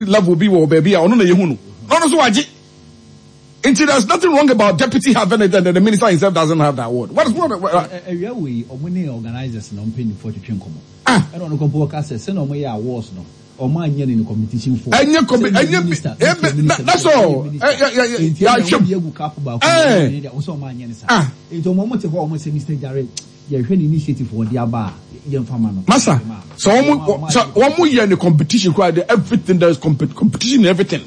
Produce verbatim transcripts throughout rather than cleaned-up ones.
Level bi wɔ baabi a ɔno na yɛhu no na ɔno nso wagye. Nti there's nothing wrong about deputy having it and then the minister himself doesn't have the award. What is what? Awia wei, ɔmo ne organisers na mpanyinfoɔ twetwe nkɔmɔ. Ah. Ɛna ɔno kɔmpo ɔka sɛ sɛnea ɔmo yɛ awards no, ɔmo anyɛ no in competition form. Ɛnyɛ compe ɛnyɛ bi, that's all. Nti ɛna ɔmo de egu cup baako mu ɛna ɔsɛ ɔmo anyɛ no saa. Ah. Nti ɔmo ɔmo te hɔ, ɔmo sɛ Mister Jare, yɛhwɛ ne initiative wɔde aba a, yɛmfa ma no. Masa, sɛ wɔn sɛ wɔn yɛ ne competition koraa de, everything, there is competition in everything.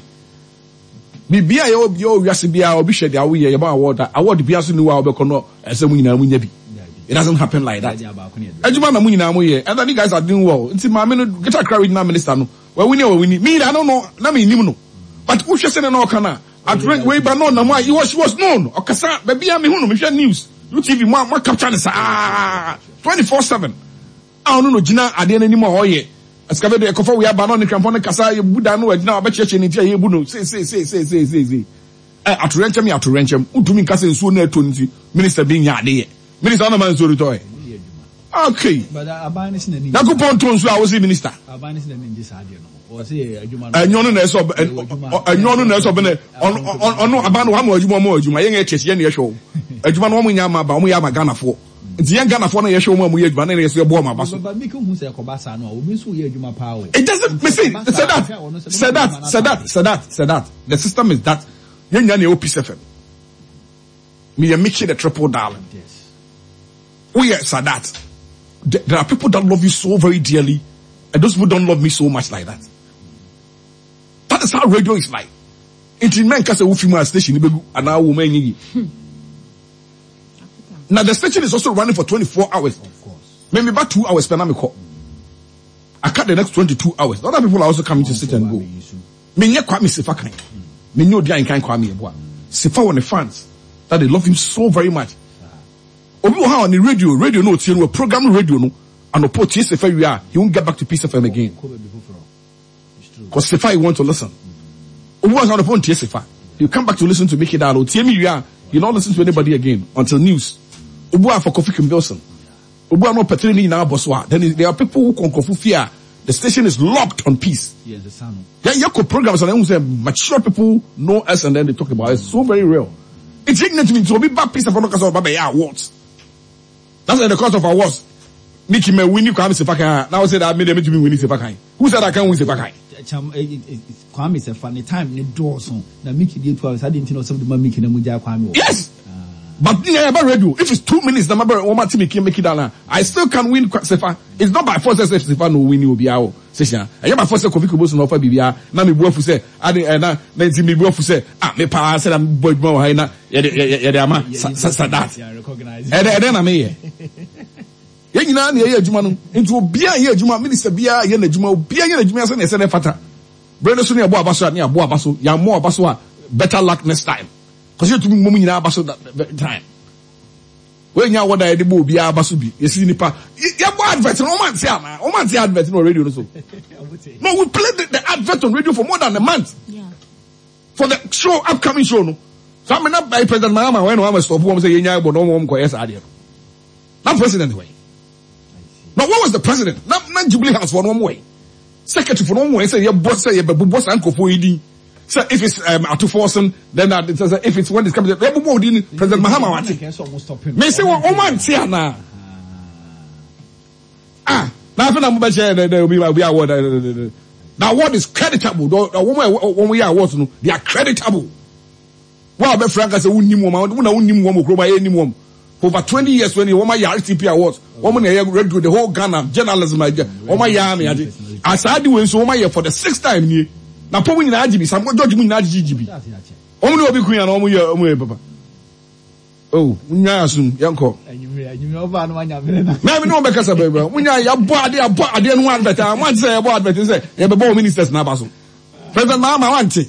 Biribi a yɛwɔ bi wɔ wiase biara, obi hwɛ deɛ awoyɛ, yɛbɔ award a, award biara so ni wɔ a wɔbɛkɔ no ɛsɛ mu nyinaa mu nya bi. It doesn't happen like that. Adwuma na mu nyinaa mo yɛ, and then you guys are doing well. Nti maame no, Greater Accra Regional Minister no, wawini a wawini. Me I don't know, na me nim no, but wohwɛ sɛ ne na ɔka na atorɛ wei ba no ɔnam a, he was she was known. Ɔkasa baabi a mehu no, mehwɛ news, U T V mo a mo capture ne saa twenty four seven a ɔno no gyina adeɛ n'anim a ɔyɛ excavator ɛkɔfɔ wei aba na ɔne krampɔn no kasa, yɛbu dan no, agyina ɔbɛkyerɛkyerɛ ne ti a yɛbu no sei sei sei sei sei sei sei. Ɛ atorɛnkyɛm yɛ atorɛnkyɛm. Wotumi nka sɛ nsuo no ɛtɔ no nti minister bi nya adeɛ. Minister ɔnam a nsuo no tɔ ɛ okay. But aban no si n'ani. Nyankopɔn to nsuo a wosi minister. Aban no si n'ani ngye saa adeɛ no ho. Ɔsɛ adwuma no. Ɛnyɛ ɔno na ɛsɛ ɔbɛ, ɛnyɛ ɔno na ɛsɛ ɔbɛ na ɔno ɔno aban no wama adwuma, ɔmo adwuma. Yɛn yɛ kyɛkyɛ, yɛn na yɛhwɛ o adwuma no, wɔn nyɛ ama aba, wɔn yɛ ama Ghanafoɔ. Nti yɛn Ghanafoɔ no yɛhwɛ wɔn a wɔyɛ adwuma no na yɛsɛ yɛbɔ wɔn aba so. But mi hu sɛ ɛkɔba saa no a, obi nso yɛ adwuma paa o. It doesn't me see say that say that say that say that say that the system is that yɛn nyinaa na ɛwɔ Peace F M. Me yɛ Mickey the Triple Darling. Yes. Woyɛ Sadat. There are people that love you so very dearly and those people don't love me so much like that. That is how radio is like. Nti mɛnka sɛ wofi mu a, station ni bɛgu anaa wo ma ɛnyɛ yie. Na the station is also running for twenty-four hours. Of course. Me me ba two hours pɛ na mekɔ. Aka the next twenty-two hours. Other people are also coming to sit and go. Menyɛ Kwame Sefa kan. Menyɛ odi ankan Kwame Yeboah. Sefa wɔ ne fans that they love him so very much. Obi wɔ ha, ɔne radio radio no otie no, wɔ program radio no anɔpɔ otie Sefa wie a, he won't get back to Peace F M again. Kɔ baabi foforɔ. It's true. 'Cause Sefa he want to listen. Obi wɔ ha, anɔpɔ ntie Sefa. He come back to listen to Mickey Dalo. Otie mi wie a, he not listen to anybody again until news. Obi wɔ ha for Kofi Kim Wilson. Obi wɔ ha na ɔpɛtɛrɛ ne nyinaa bɔ so a, then there are people who kɔ nkurɔfo fie a the station is locked on Peace. Yɛn sesa no. Yeah, yeah, programs and I say mature people know us and then they talk about it. It's so very real. It's ignorant to me to be back Peace F M because of Baba awards. That's the cost of awards. Mickey me winning Kwame Sefa kan. Now say that me dem to me winning Sefa kan. Who said I can win Sefa kan? Cham eh, eh, eh, Kwame Sefa ne time ne dɔɔso na Mickey deɛ two hours adi, nti na ɔsɛ de ma Mickey na mu gya Kwame wɔ. Yes. But yeah, about radio, if it's two minutes, na matter one more Mickey make it down. I still can win Sefa. It's not by force sɛ Sefa no win obi awo. Session. Ɛyɛ by force sɛ Kofi Kobosu na ɔfa bibia na me bu afu sɛ ade eh, na na nti me bu afu sɛ ah, me pa sɛ na me bɔ adwuma wɔ ha yi na yɛde yɛde ama Sadat. Yeah, recognize. Ɛdɛ ɛdɛ na meyɛ. Yɛn nyinaa na yɛyɛ adwuma no, nti obiara yɛ adwuma, minister biara yɛ n'adwuma, obiara yɛ n'adwuma sɛ ne ɛsɛ ne fata bere no so ne ɛbɔ aba so a, ne abɔ aba so. Yɛammɔ aba so a, better luck next time, kɔsi yɛtumi mmom nyinaa aba so that time. Wɔnya awɔda yɛde bɔ obiara aba so bi, yɛsi nipa yɛbɔ advert no, wɔn ante ana wɔn ante advert no wɔ radio no so no? We played the, the advert on radio for more than a month Yeah. for the show, upcoming show no. So amena by President Mahama wɔn na wɔn ama stop wɔn sɛ yɛnya ɛbɔ na wɔn wɔn kɔ yɛ saa adeɛ no. Na president wɔ yi na what was the president na na Jubilee House fɔ no, wɔn wɔ yi, secretary fɔ no, wɔn wɔ yi sɛ yɛbɔ sɛ yɛbɛbobɔ saa nkurɔfoɔ yi din sɛ if it's um, Ato Forson, then that sɛ if it's when it's coming, yɛbobɔ odin President Mahama wate. Me se wɔn wɔn ante ana? Ah, na afei na mo bɛ kyɛ dɛ dɛ obi obi award dɛ dɛ dɛ. The award is creditable. The wɔn a wɔn yɛ awards no, they are creditable. Wɔn a bɛfra nka sɛ wonnim wɔn a wɔn na wonnim wɔn wɔ kurom a yɛnnim wɔn for over twenty years, twenty wɔn ayɛ R T P awards, wɔn na ɛyɛ radio, the whole Ghana journalism agye wɔn ayɛ ame agye asaa de wei nso wɔn ayɛ for the sixth time nie na pɔn nyinaa agye bi, Sam George mu nyinaa agye gye bi. Wɔn ne obi kun ya na wɔn yɛ wɔn yɛ papa oh, nya asum yɛn kɔ. Mɛmi ne wɔn bɛ kasa bɛɛ bɛɛ mo nya yabɔ adeɛ, yabɔ adeɛ no ho advert a mo ante sɛ yɛbɔ advert sɛ yɛbɛbɔ wɔn ministers n'aba so. President Mahama wante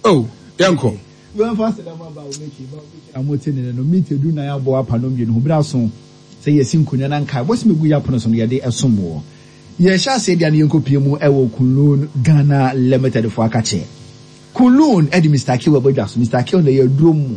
oh, yɛn kɔ. Wɛnfa sɛ dɛm aba wo meki ba wo meki na mo te ne no meet edu nan abɔ apa no mmienu ho bere aso sɛ yɛsi nkonnwa na nkae bɔsi megu yɛ apono so no, yɛde ɛsom wɔ yɛhyɛ aseɛ deɛ no, yɛnkɔ pie mu ɛwɔ Kunlun Ghana Limited fo akakyɛ. Kunlun ɛde Mister Kill ɛbɔ dwa so. Mister Kill na ɛyɛ aduro mu,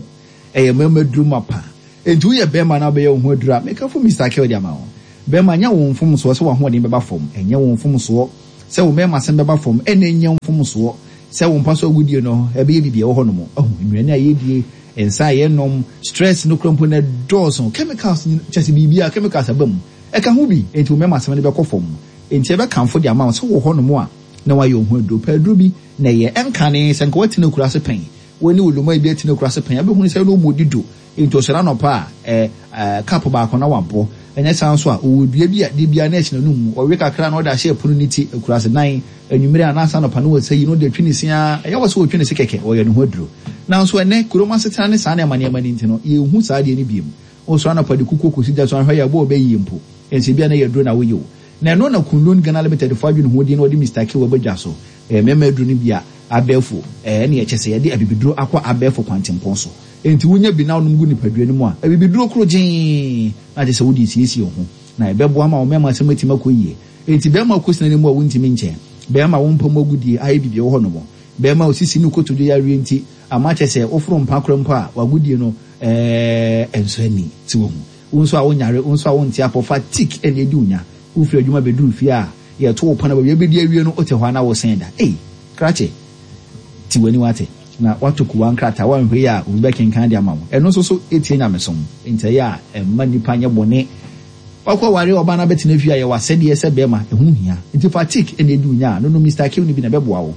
ɛyɛ mmarima aduro mu apa. Nti woyɛ bɛrima na wobɛyɛ wo ho aduro a, mekafo Mister Kill de ama wo. Bɛrima, nyɛ wo mfomsoɔ sɛ w'ahoɔden bɛba fam, ɛnyɛ wo mfomsoɔ. Sɛ wo mmarima asɛm bɛba fam, ɛna ɛnyɛ mfomsoɔ sɛ wo mpa so agudie no ɛbɛyɛ biribi ɛwɔ hɔ nom. Ɔho nnuane a yɛdie, nsa a yɛnom, stress no kura mpo na dɔɔso, chemicals kyɛ sɛ biribi a chemicals aba mu ɛka ho bi, enti wo mmarima asɛm no bɛkɔ fam. Enti ɛbɛkamfo de ama wo sɛ wɔ hɔ nom a na wayɛ wo ho aduro pɛ aduro bi na ɛyɛ ɛnkane sɛ nka watena akura ase pɛn, wɔne wo loma bi atena akura ase pɛn, abɛhunu sɛ no mu di do. Enti ɔsɔre anɔpa a ɛ cup baako na wabɔ. Ɛnyɛ saa nso a ɔwɔ dua bi a de bia na ɛhyɛ n'anum, ɔwe kakra na ɔde ahyɛ ɛpono ne ti akura ase nan anwummerɛ anaasɛ anɔpa no wɔsɛ yi no de atwi ne se a ɛyɛ wɔ sɛ wɔtwi ne se kɛkɛ, ɔyɛ ne ho aduro. Nanso ɛnɛ kurom asetena ne saa nneɛma nneɛma no nti no yɛnhu saa adeɛ no biom. Ɔsɔre anɔpa de kukuo kɔsi gya so ahwɛ yɛ abɔ ɔbɛyie mpo ɛnso bia na yɛ aduro na woyɛ o. Na ɛno na Kunlun Ghana Limited fo adwene ho din na ɔde Mister K wɔ badwa so. Ɛyɛ mmarima aduro no bi a abɛɛfo ɛɛ ne ɛkyɛ sɛ yɛde abibiduro akɔ abɛɛfo kwantempɔn so. Enti wonya bi na wonom gu nipadua no mu a abibiduro koro gyee na kyerɛ sɛ wode siesie wo ho na ɛbɛboa ma wo mmarima asɛm atumi akɔ yie. Enti bɛrima kɔsina no mu a wontumi nkyɛn, bɛrima wo mpam agudie ayɛ biribi wɔ hɔ nom, bɛrima osisi ne kotodwe yareɛ nti ama kyerɛ sɛ woforo mpa korɔ mpo a wagudie no ɛɛ ɛnso ani ti wɔ ho. Wo nso a wonyare, wo nso a wonte apɔ, fatigue ɛna edi wo nya. Wofiri adwuma bɛduru fie a yɛto wo pɔn a baabi abɛdi awie no wote hɔ a na wosɛn da. Ei, krakye, ti w'ani wate na wato kuwa nkrataa wanhwɛ yi a obi bɛkenkan de ama wo. Ɛno nso so etie nyamesom nti ɛyɛ a ɛmma nipa nyɛ bɔne. Wakɔ ware ɔbaa no abɛtena fie a yɛwɔ asɛdeɛ sɛ bɛrima ɛho hia. Nti fatigue ɛna edi wo nya a no no Mister K no bi na ɛbɛboa wo.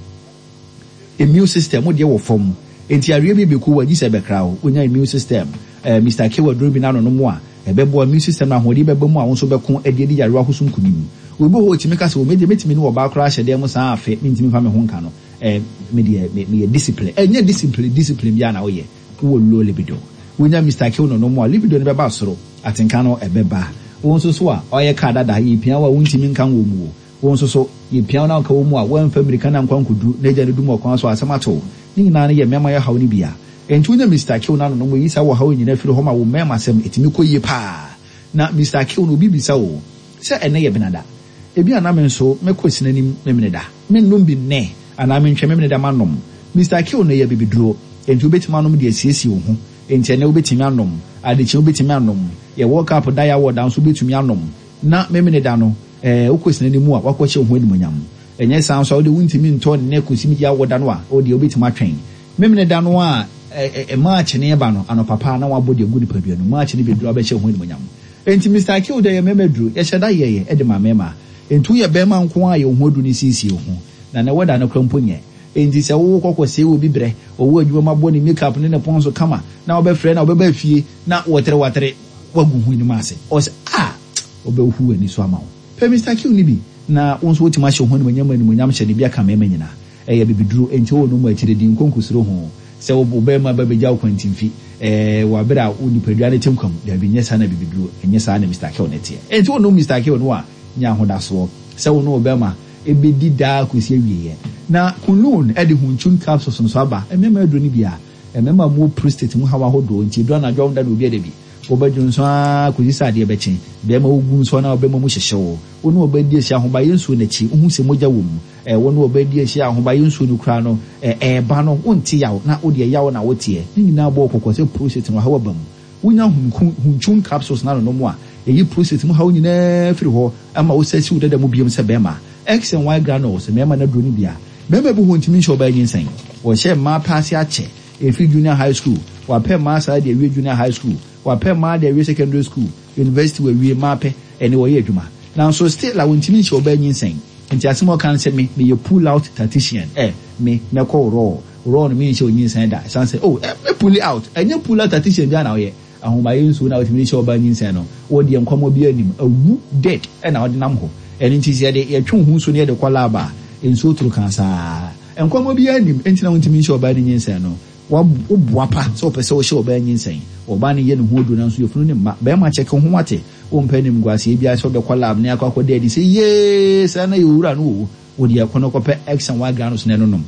Immune system wo deɛ wɔ fam nti areɛ bi bɛku wo agye sɛ ɛbɛkra wo. Wonya immune system ɛɛ Mister K waduro bi n'ano no mu a ɛbɛboa immune system na ahoɔden bɛba mu a wo nso bɛko ɛde adi yarewa ahosuo nkonim. Obi wɔ hɔ otumi ka sɛ o me deɛ metumi ne ɔbaa koraa hyɛ dan mu saa afe mentumi mfa me ho nka no. Ɛɛ me deɛ me meyɛ discipline. Ɛnyɛ discipline discipline biara na woyɛ. Wowɔ low libido. Wonya Mister K no no mu a libido no bɛba soro, atenka no ɛbɛba. Wo nso so a ɔyɛ kaa dada yɛpia wo a wontumi nka wɔ mu o. Wo nso so yɛpia wo na nka wɔ mu a woamfa mmirika na nkwa nkɔduru na agya no dum ɔkwan so asɛm ato wo. Ne nyinaa no yɛ mmarima yɛ haw no bia. Enti wonya Mister K no ano no mu yi saa wɔ haw nyinaa firi hɔ ma wo mmarima asɛm ɛtumi kɔ yie paa. Na Mister K no obi bisa wo sɛ ɛnɛ yɛ benada. Ebi a na me nso mɛkɔ sinanim memeneda. Mennom bi nnɛ anaa mentwɛn memeneda manom. Mister K no yɛ bibiduro. Enti wobɛtumi anom de asiesie wo ho. Enti ɛnɛ wobɛtumi anom, adekyee wobɛtumi anom, yɛ World Cup da yɛ awɔ da nso wobɛtumi anom. Na memeneda no ɛɛ wokɔ sinanim mu a wakɔhyɛ wo ho animuonyam. Ɛnyɛ saa nso a wode wontumi ntɔ nnɛ kɔsi mi awɔ da no a wode wobɛtumi atwɛn. Memeneda no a ɛ March ne ɛba no anɔpa paa na wabɔ de agu nipadua no. March ne bɛduru abɛhyɛ wo ho animuonyam. Enti Mister K deɛ yɛ mmarima aduro, yɛhyɛ da yɛyɛ ɛde ma mmarima. Enti woyɛ bɛrima nko a yɛ wo ho aduro ne siesie wo ho. Na ne wɛda no kora mpo nyɛ. Enti sɛ wowɔ kɔkɔ sɛ obi brɛ, ɔwɔ adwuma ma bɔ ne makeup ne ne pɔn so kama na wobɛfrɛ na wobɛba fie na wɔtere watere wagu ho anim ase. Ɔsɛ a ɔbɛhu w'ani so ama wo. Pɛ Mister K no bi na wo nso wotumi ahyɛ wo ho animuonyam animuonyam hyɛ ne bi aka mmarima nyinaa. Ɛyɛ bibiduro enti wowɔ no mu akyire di nkonkusuro ho sɛ wo bɛrima ba bɛgya wo kwantimfi ɛɛ wɔ abere a wo nipadua no te nkwa mu. Dabi, nyɛ saa na bibiduro, ɛnyɛ saa na Mister K no teɛ. Enti wo nom Mister K no a nya ahodasoɔ sɛ wo ne wo bɛrima ebedi daa kɔsi awieɛ. Na Kunlun ɛde Hunchun capsules nso aba. Mmarima aduro no bi a mmarima mu prostate mu haw ahodoɔ nti eduro anadwo da na obi ada bi. Wɔbɛdwo nso ara kɔsi sɛ adeɛ bɛkye. Bɛrima wogu nso na ɔbɛma mu hyehyɛ wo. Wo ne ɔbaa di ahyia ahobayɛ nsuo n'akyi wohu sɛ mogya wɔ mu. Ɛɛ wo ne ɔbaa di ahyia ahobayɛ nsuo no koraa no ɛɛ ɛɛba no wonte yaw na wodeɛ yaw na woteɛ. Ne nyinaa bɔ kɔkɔ sɛ prostate no haw aba mu. Wonya Hunchun capsules na no mu a ɛyi prostate mu haw nyinaa firi hɔ ama wo sɛ si wo dada mu biom sɛ bɛrima. X and Y granules mmarima no aduro no bi a bɛrima bi hɔ ntumi nhyɛ ɔbaa nyinsɛn. Wɔhyɛ mmaa paase akyɛ ɛfiri junior high school, wapɛ mmaa saa de awie junior high school, wapɛ mmaa de awie secondary school, university wawie mmaa pɛ ɛne wɔyɛ adwuma. Nanso still a wɔntumi nhyɛ ɔbaa nyinsɛn. Nti asɛm a ɔka no sɛ me meyɛ pull out tactician. Ɛ me mɛkɔ raw raw no menhyɛ onyinsɛn da. Ɛsan sɛ oh ɛ me pull out, ɛnyɛ pull out tactician bi a na ɔyɛ. Ahomayɛ nsuo na wɔtumi de hyɛ ɔbaa nyinsɛn no, wɔdeɛ nkɔmmɔ bi anim awu dead ɛna ɔde nam hɔ. Ɛno nti sɛ yɛde yɛtwe wo ho nsuo no yɛde kɔ lab a nsuo toro kan saa. Nkɔmmɔ bi anim nti na wɔntumi nhyɛ ɔbaa no nyinsɛn no. Woboa pa sɛ wopɛ sɛ wohyɛ ɔbaa nyinsɛn. Ɔbaa no yɛ ne ho aduro nanso yɛfunu ne mma. Bɛrima kyɛke ho wate. Wompɛ animguaseɛ biara sɛ wobɛkɔ lab ne akɔ akɔda adi sɛ yee saa na yɛ owura no o. Wode ɛkɔ no kɔpɛ X and Y granules na ɛno nom.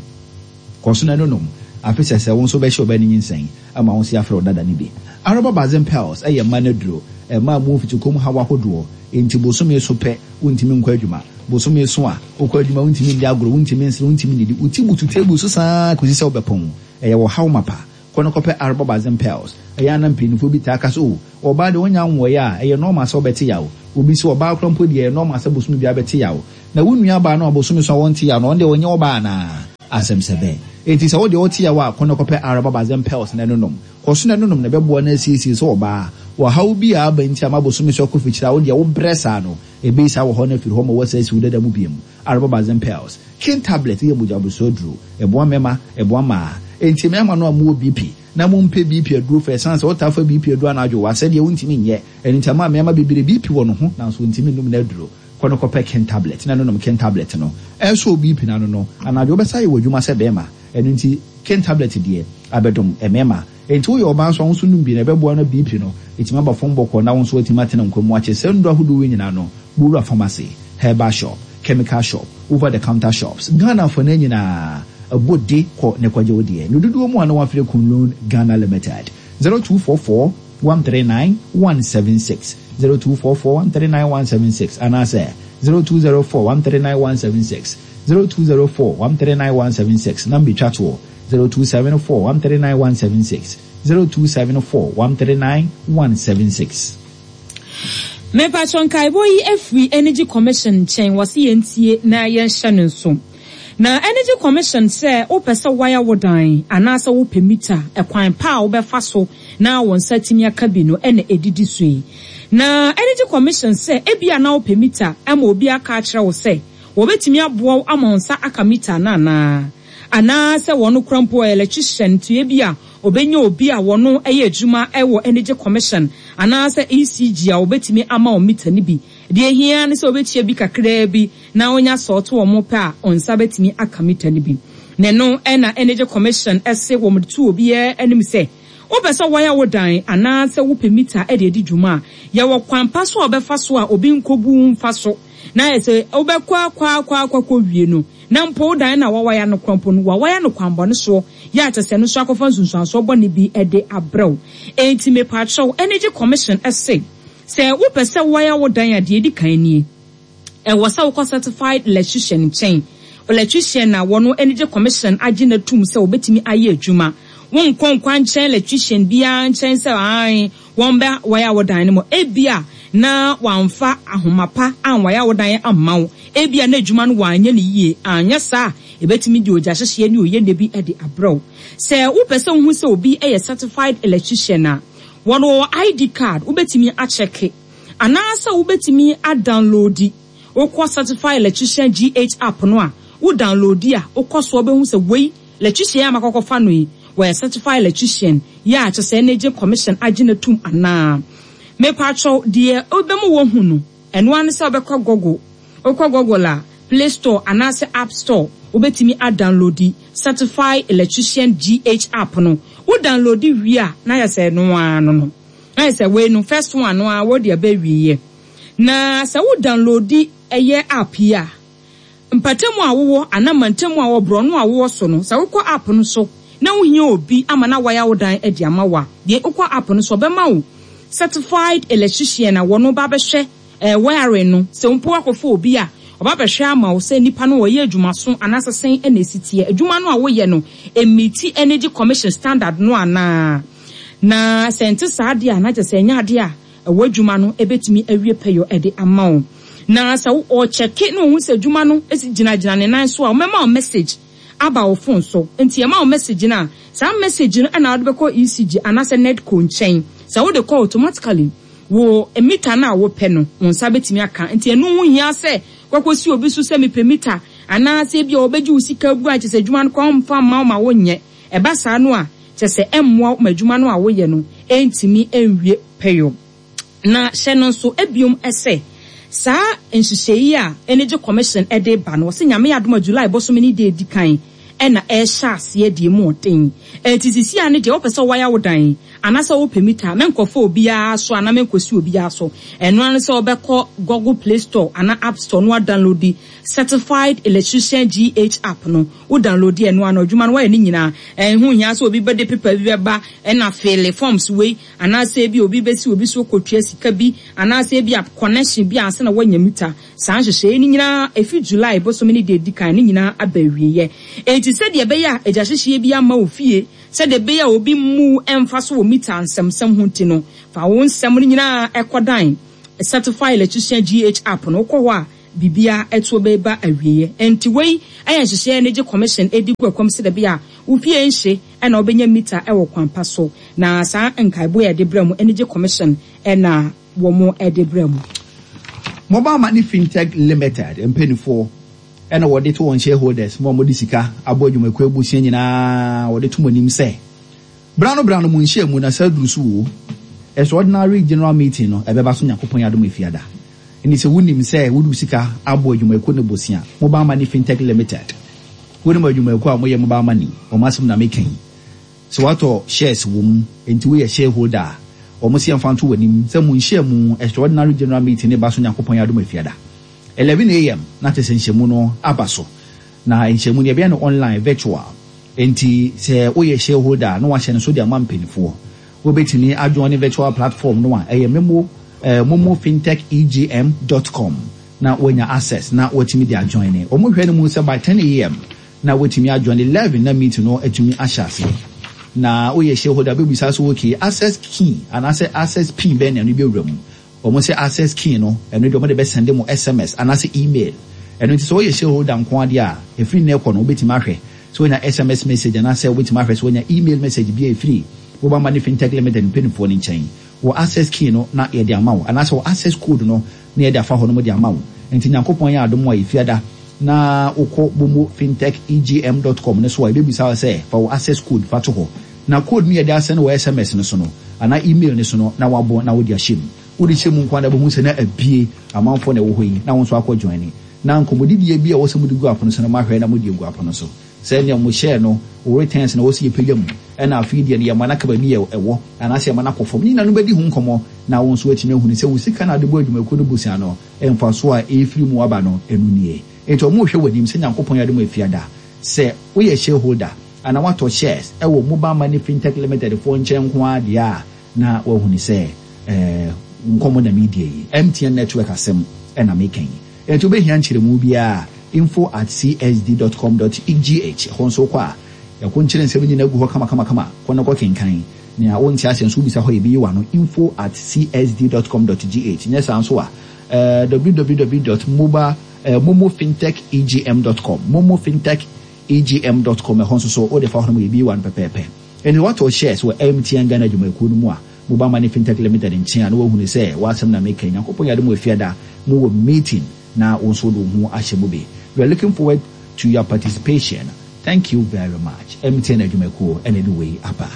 Kɔ so na ɛno nom. Afe sɛ sɛ wo nso bɛhyɛ ɔbaa no nyinsɛn ama wo nso yɛafrɛ wo dada no bi. Araba Bazen Pearls ɛyɛ mmaa no aduro. Mmaa mu mfitikom haw ahodoɔ. Enti bosome so pɛ wontumi nkɔ adwuma. Bosome so a wokɔ adwuma wontumi ndi agorɔ, wontumi nsere, wontumi nnidi. Wo ti butu table so saa kɔsi sɛ wobɛpɔn. Ɛyɛ wɔ haw mapa. Kɔ no kɔpɛ Arobɔbazen Pills. Ɛyɛ a na mpanyinfoɔ bi taa ka sɛ, oh, ɔbaa deɛ ɔnya nwɔeɛ a, ɛyɛ normal sɛ ɔbɛte yaw. Obi sɛ ɔbaa koraa mpo deɛ, ɛyɛ normal sɛ bosome biara bɛte yaw. Na wo nua baa no a bosome so a wɔnte yaw no, ɔno deɛ ɔnyɛ ɔbaa anaa? Asɛm sɛ bɛn. Enti sɛ wo deɛ wote yaw a, kɔ no kɔpɛ Arobɔbazen Pills na ɛnonom. Kɔ so na ɛnonom na ɛbɛboa na asiesie sɛ ɔbaa. Ɔhaw bi a aba nti ama bosome so akɔ fikyire a, wo deɛ wobrɛ saa no, ɛbɛyi saa wɔ hɔ no afiri hɔ ma woasa asi wo dada mu biom. Arobɔbazen Pills. King tablet yɛ mogya aduro. Ɛboa mmarima, ɛboa mmaa. Enti mmarima no a mowɔ B P na mompɛ B P aduro fɛ, ɛsiane sɛ wotaa fa B P aduro anadwo wɔ asɛdeɛ wontumi nyɛ. Ɛno nti ama mmarima bebree B P wɔ no ho nanso wontumi nnom no aduro. Kɔ no kɔpɛ King tablet na ɛnonom King tablet no. Ɛnso B P n'ano no, anadwo wobɛsa yɛ wɔ adwuma sɛ bɛrima. Ɛno nti King tablet deɛ abɛdom mmarima. Enti woyɛ ɔbaa nso a, wo nso nom bi na ɛbɛboa no B P no ɛtumi aba fam bɔkɔɔ na wo nso watumi atena nkwa mu akyɛ. Sɛ nnuro ahodoɔ wei nyinaa no, bowura pharmacy, herbal shop, chemical shop, over the counter shops Ghana fo no nyinaa, ɛbɔ de kɔ ne kɔgye wo deɛ no dodoɔ mu a na wafrɛ Kunlun Ghana Limited, zero two four four one three nine one seven six, zero two four four one three nine one seven six, anaasɛ zero two zero four one three nine one seven six, zero two zero four one three nine one seven six. Number twa toɔ, zero two seven four one three nine one seven six, zero two seven four one three nine one seven six. Mepatwɔ, nkaebɔ yi afiri Energy Commission nkyɛn. Wɔse yɛntie na yɛnhyɛ no nso. Na Energy Commission sɛ wopɛ sɛ waya wo dan anaasɛ wopɛ mita, ɛkwan pa a wobɛfa so na wɔn nsa tumi aka bi no ɛna ɛdidi so yi. Na Energy Commission sɛ ebia na wopɛ mita ama obi aka akyerɛ wo sɛ wɔbɛtumi aboa wo ama wo nsa aka mita no anaa anaasɛ wɔn kora mpo electrician nti ebi a obɛnya obi a wɔno yɛ adwuma wɔ Energy Commission anaasɛ E C G a wɔbɛtumi ama wɔn mita no bi. Deɛ ehia ne sɛ wɔbɛtua bi kakraa bi na wonya sɔɔto wɔn pɛ a, wɔn nsa bɛtumi aka mita no bi. Na ɛno ɛna Energy Commission ɛse wɔn de to obiara anim sɛ wopɛ sɛ wɔyɛ wo dan anaasɛ wopɛ mita de adi dwuma a, yɛwɔ kwan pa so a wɔbɛfa so a obi nkɔbu mfa so na yɛ sɛ wobɛkɔ akɔ akɔ akɔ akɔ wie no na mpo wo dan na wawaya no korɔ mpo no, wawaya no kwanbɔne soɔ yɛ akyɛ sɛ no nso akɔfa nsunsuansoɔ bɔne bi de abrɛw. Enti mepaakyɛw, Energy Commission ɛse sɛ wopɛ sɛ wɔyɛ wo dan a, deɛ edi kan nie: ɛwɔ sɛ wokɔ certified electrician nkyɛn, electrician a wɔno Energy Commission agye n'atum sɛ wɔbɛtumi ayɛ adwuma. Wonkɔ nkwa nkyɛn electrician biara nkyɛn sɛ ae wɔn bɛ wɔyɛ wo dan no mu. Ebia na wamfa ahoma pa anwaya wo dan amma wo, ebia na adwuma no wanyɛ no yie. Anyɛ saa, ebɛtumi de ogya hyehyeɛ ne oyɛ bi de abrɛw. Sɛ wopɛ sɛ wohu sɛ obi yɛ certified electrician a, wɔn wɔ I D card, wobɛtumi akyɛke anaasɛ wobɛtumi adownloadi. Wokɔ Certified Electrician G H app no a, wo downloadi a, wokɔ so wobɛhu sɛ wei electrician a makɔkɔfa no yi, wɔyɛ certified electrician yɛ a kyerɛ sɛ Energy Commission agye no tom anaa. Mepatwɛw, deɛ wobɛmu wɔhu no, ɛno ara ne sɛ wobɛkɔ Google. Wokɔ Google a, Play Store anaasɛ App Store, wobɛtumi adownloadi Certified Electrician G H app no. Wo downloadi wie a, na yɛ sɛ ɛno ara no no na yɛ sɛ wei no first one no a wɔde aba awieɛ. Na sɛ wo downloadi ɛyɛ app yi a, mpatamu a wowɔ anaa mantamu a wɔ borɔno a wowɔ so no, sɛ wokɔ app no so na wohia obi ama na wayɛ wo dan de ama wo a, deɛ wokɔ app no so, ɔbɛma wo certified electrician a wɔno ba bɛhwɛ ɛɛ wiring no. Sɛ mpo akɔfo obi a ɔba bɛhwɛ ama wo sɛ nipa no wɔyɛ adwumaso anaasɛ sɛn ɛna esi teɛ, adwuma no a woyɛ no emeeti Energy Commission standard no anaa. Na sɛ nte saa adeɛ a, na kyerɛ sɛ ɛnyɛ adeɛ a ɛwɔ adwuma no ebɛtumi awie pɛyɔ ɛde ama wo. Na sɛ ɔkyɛke na ohun sɛ adwuma no esi gyinagyina ne nan so a, ɔmɛma wo message aba wo phone so. Nti ɛma wo message no a, saa message no ɛna wɔde bɛkɔ E C G anaasɛ NEDCO nkyɛn. Sɛ wode kɔ, automatically wo mita no a wopɛ no, wo nsa bɛtumi aka. Nti ɛno ho hia sɛ kɔkɔsi obi so sɛ mepɛ mita anaasɛ ebi a wɔbɛgye wo sika gu a kyerɛ sɛ adwuma no kɔ mfa mma wo ma wonyɛ. Ɛba saa no a, kyerɛ sɛ ɛmmoa wo ma adwuma no a woyɛ no ɛntumi ɛnwie pɛyɔ. Na hyɛ no nso ebiom ɛsɛ saa nhyehyɛ yi a Energy Commission ɛde ba no, wɔsɛ Nyame adom a, July bɔsɔm ne de edi kan ɛna ɛhyɛ aseɛ deɛ mu ɔden. Ɛnti sisi a ne deɛ wopɛ sɛ wɔayɛ wo dan anaasɛ wopɛ mita, mɛnkɔfa obiara so anaa mɛnkɔsi obiara so. Ɛno ano sɛ wobɛkɔ Google Play Store anaa App Store no, adownloadi Certified Electrician G H app no. Wo downloadi ɛno ano, adwuma no wɔyɛ ne nyinaa. Ɛho hia sɛ obi bɛde paper bi bɛba ɛna fill forms wei anaasɛ ebi obi bɛsi obi so kɔtua sika bi anaasɛ ebi a connection bi ansa na wɔanya mita. Saa nhyehyɛeɛ no nyinaa efi July bosome ne deɛ edi kan ne nyinaa aba awieɛ. Eti Enti sɛdeɛ ɛbɛyɛ a agyahyehyeɛ bi amma wo fie, sɛdeɛ ɛbɛyɛ a obi mmu ɛmfa so wɔ mita nsɛmsɛm ho nti no, fa wo nsɛm no nyinaa ɛkɔdan Certified Electrician G H app no. Wokɔ hɔ a, biribia ɛtoɔ bɛba awieɛ. Enti wei ɛyɛ nhyehyɛeɛ Energy Commission ɛdi gu akwam sɛ dɛbi a wofie nhye ɛna wobɛnya mita ɛwɔ kwan pa so. Na saa nkaebo yɛ de brɛ mu, Energy Commission ɛna wɔn ɛde brɛ mu. Mobile Money Fintech Limited mpanimfoɔ ɛna wɔde to wɔn shareholders mo a wɔde sika abɔ adwumakuo abusua nyinaa, wɔde to mo anim sɛ brano brano mu nhyia mu na sɛ duru so wo extraordinary general meeting no ɛbɛba so, Nyankopɔn yɛ adom, Efiada. Ɛni sɛ wonim sɛ wode sika abɔ adwumakuo no bosia, Mobile Money Fintech Limited, wonim adwumakuo a moyɛ mobile money, wɔn asɛm na meka yi. Sɛ watɔ shares wɔ mu nti woyɛ shareholder a, wɔn si yɛmfa nto w'anim sɛ mo nhyia mu extraordinary general meeting ne ba so, Nyankopɔn yɛ adom, Efiada eleven a m na kyerɛ sɛ nhyɛmu no aba so. Na nhyɛmu no yɛbɛyɛ no online, virtual. Nti sɛ woyɛ shareholder na wahyɛ no so de ama mpanimfoɔ, wobɛtumi ajoin ne virtual platform no a ɛyɛ memo eh, momo fintech E G M dot com na woanya access na watumi de ajoin ne. Wɔn hwɛ no mu sɛ by ten a m na watumi ajoin, eleven na meeting no atumi ahyɛ aseɛ. Na woyɛ shareholder, bɛbisa so, okay, access key anaasɛ access pin bɛn na ɛno bɛwura mu? Wɔn sɛ access key no, ɛno deɛ wɔn de bɛsend mo S M S anaasɛ email. Ɛno nti sɛ woyɛ shareholder nko adeɛ a, ɛfiri nnɛ kɔ no wobɛtumi ahwɛ sɛ wonya S M S message anaasɛ wobɛtumi ahwɛ sɛ wonya email message bi a ɛfiri Mobile Money Fintech Limited mpanimfoɔ no nkyɛn wɔ access key no na yɛde ama wo, anaasɛ wɔ access code no na yɛde afa hɔ no mo de ama wo. Nti Nyankopɔn yɛ adom a, Efiada na wokɔ momo fintech E G M dot com no so a, yɛbɛbisa wo sɛ fa wo access code fa to hɔ, na code no yɛde asɛn wɔ S M S no so no anaa email no so no na wabɔ na wode ahyɛ mu. Wode hyɛ mu nko ara bɛhu sɛ na abie amanfoɔ na ɛwɔ hɔ yi na wo nso akɔ join. Na nkɔmmɔdidie bi a ɛwɔ sɛ mode gu apono so no, mahwɛ na mode agu apono so sɛ nea mo hyɛɛ no wo returns na wɔsi yɛpagya mu, ɛna afei deɛ no yɛma no aka baabi yɛ ɛwɔ anaasɛ yɛma no akɔ fam ne nyinaa no bɛdi ho nkɔmmɔ, na wo nso atumi ahunu sɛ wo sika no ade bɔ adwumakuo no bosia no, ɛmfa so a ɛfiri mu aba no, ɛno nie. Nti ɔmo hwɛ w'anim sɛ Nyankopɔn yɛ adom, Efiada, sɛ woyɛ shareholder anaa watɔ shares ɛwɔ Mobile Money Fintech Limited foɔ nkyɛn nko ara deɛ a, na wahunu sɛ ɛɛ nkɔmmɔ na media yi M T N network asɛm ɛna meka yi. Nti wobɛhia nkyerɛmu biara, info at C S D dot com dot G H. Ɛhɔ nso kɔ a, yɛko nkyerɛ nsɛm nyinaa gu hɔ kamakamakama. Kɔ no kɔ kenkan nea wonte aseɛ nso wobisa hɔ, yɛbɛyi w'ano, info at C S D dot com dot G H. Nyɛ saa nso a, uh, w w w dot mobile uh, momo fintech E G M dot com, momo fintech E G M dot com. Ɛhɔ nso so wode fa hɔ no mu, yɛbɛyi w'ano pɛpɛɛpɛ. Ɛnti watɔ shares wɔ M T N Ghana adwumakuo no mu a, Mobile Money Fintech Limited nkyɛn a, na wahunu sɛ w'asɛm na meka. Nyankopɔn yɛ adom, Efiada mowɔ meeting na wo nso wode wo ho ahyɛ mu bi. We are looking forward to your participation. Thank you very much. M T N adwumakuo ɛna de wei aba.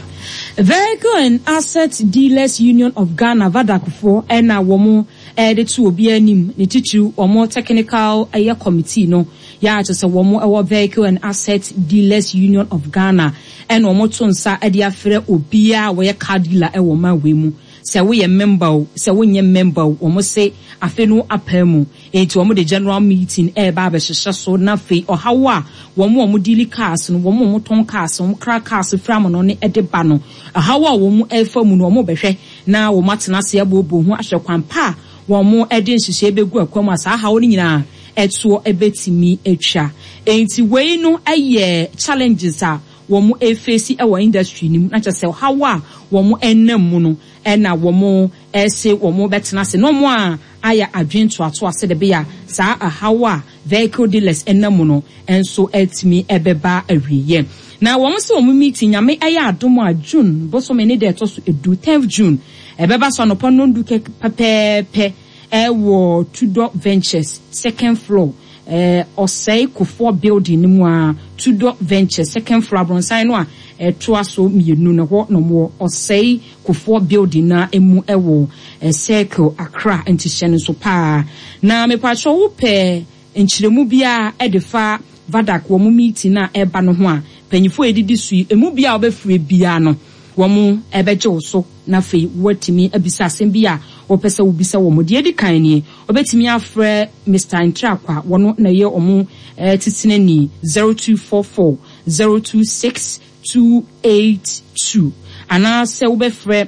Vehicle and Asset Dealers Union of Ghana, VADAC foɔ, ɛna wɔn ɛde to obi anim, ne titiriw wɔn technical ɛyɛ committee no yɛ akyɛ sɛ wɔn ɛwɔ Vehicle and Asset Dealers Union of Ghana, ɛna wɔn to nsa ɛde afrɛ obiara a wɔyɛ car dealer ɛwɔ ɔman wei mu, sɛ woyɛ member o, sɛ wonyɛ member o. Wɔn se afe no apaa mu nti wɔn de general meeting ɛreba abɛhyehyɛ so, na afei ɔhaw a wɔn a wɔn deal cars no, wɔn a wɔtɔn cars, wɔn kra cars fira mo no ne ɛde ba no, ɔhaw a wɔn ɛrefa mu no, wɔn bɛhwɛ na wɔn atena ase abooboo ho ahwɛ kwan pa a wɔn ɛde nhyehyɛ bɛgu akwan mu a saa haw no nyinaa ɛtoɔ ɛbɛtumi atwa. Nti wei no ɛyɛ challenges a wɔn ɛface ɛwɔ industry no mu, na kyerɛ sɛ ɔhaw a wɔn ɛnam mu no, ɛna wɔn ɛsɛ wɔn bɛtena ase na wɔn a ayɛ adwene toatoa sɛ de bɛyɛ saa ɛhaw a vehicle dealers ɛnam mu no nso ɛtumi ɛbɛba awieɛ. Na wɔn sɛ wɔn meeting, Nyame ɛyɛ adom a, June bosome ne deɛ ɛtɔ so edu, tenth June, ɛbɛba so anɔpa nondu pɛpɛɛpɛ ɛwɔ Tudor Ventures, second floor, ɛɛ Ɔsɛe Kofoɔ building no mu a, Tudor Ventures, second floor, abrɔnsan no a ɛtoa so mmienu no hɔ na wɔwɔ, Ɔsɛe Kofoɔ building na emu ɛwɔ ɛ Circle, Accra. Nti hyɛ no nso paa. Na mepatwɛ, wopɛ nkyerɛmu biara ɛde fa VADAC wɔn meeting a ɛba no ho a, mpanyinfoɔ a yɛdidi so yi, emu bi a wɔbɛfiri biara no, wɔn ɛbɛgye wo so na afei wɔatumi abisa asɛm bi a wɔpɛ sɛ wobisa wɔn. Deɛ edi kan nie, wɔbɛtumi afrɛ Mister Ntrakwa, wɔn na ɛyɛ wɔn ɛɛ titenani, zero two four four zero two six two eight two, anaasɛ wobɛfrɛ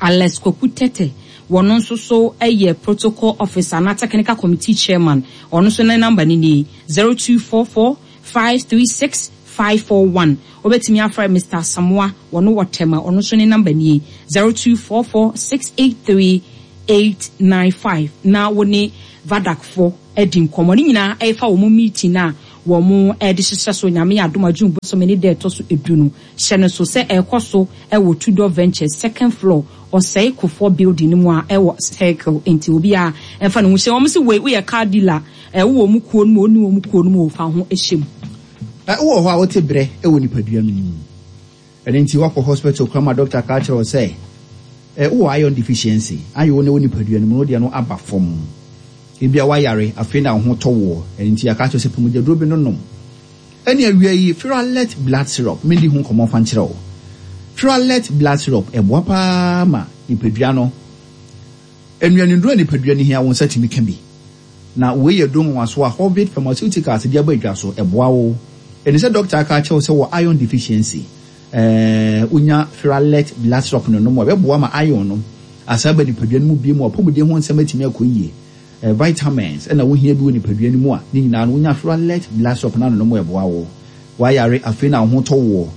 Alex Kwaku Tete, wɔn nso so yɛ protocol officer na technical committee chairman. Ɔno nso ne number ne nie, zero two four four five three six five four one. Wobɛtumi afrɛ Mister Asamoah, wɔno wɔ Tema, ɔno nso ne number nie, zero two four four six eight three eight nine five, na wo ne VADAC fo adi nkɔmmɔ. Ne nyinaa ɛfa wɔn meeting a wɔn de hyehyɛ so. Nyame yɛ adom a, June bosome ne da ɛtɔ so edu no, hyɛ no so sɛ ɛrekɔ so ɛwɔ Tudor Ventures, second floor, Ɔsɛe Kofoɔ building no mu a ɛwɔ Circle. Nti obi a ɛmfa ne ho hyɛ wɔn sɛ wei woyɛ car dealer, ɛwɔ wɔn kuo no mu, ɔni wɔn kuo no mu, ɔfa ho hyɛ mu. Wowɔ hɔ a wote berɛ wɔ nipadua no mu, ɛno nti woakɔ hospital kora ma doctor ka kyerɛ wo sɛ wowɔ iron deficiency, iron no wɔ nipadua no mu no deɛ no aba fam. Ebia woayare, afei na wo ho tɔ woɔ, ɛno nti aka kyerɛ sɛ pɔmugyaduro bi no nom. Ɛne awia yi, Ferralet Blood Syrup, mendi ho nkɔmmɔ fa nkyerɛ wo. Ferralet Blood Syrup ɛboa paa ma nipadua no nnuanenduro a nipadua no hia, wo nsa tumi ka bi. Na wei yɛ duro nwanwaso a Hovid Pharmaceuticals de aba adwa so. Ɛboa wo ɛne sɛ doctor aka kyerɛ wo sɛ wɔ iron deficiency, ɛɛ wonya Ferralet Blood Syrup no nom a, ɛbɛboa ma iron no asa aba nipadua no mu bie mu, apɔmuden ho nsɛm atumi akɔ yie. ɛɛ vitamins ɛna wohia bi wɔ nipadua no mu a, ne nyinaa no wonya Ferralet Blood Syrup no anonom, ɛboa wo. Wayare, afei na wo ho tɔ woɔ.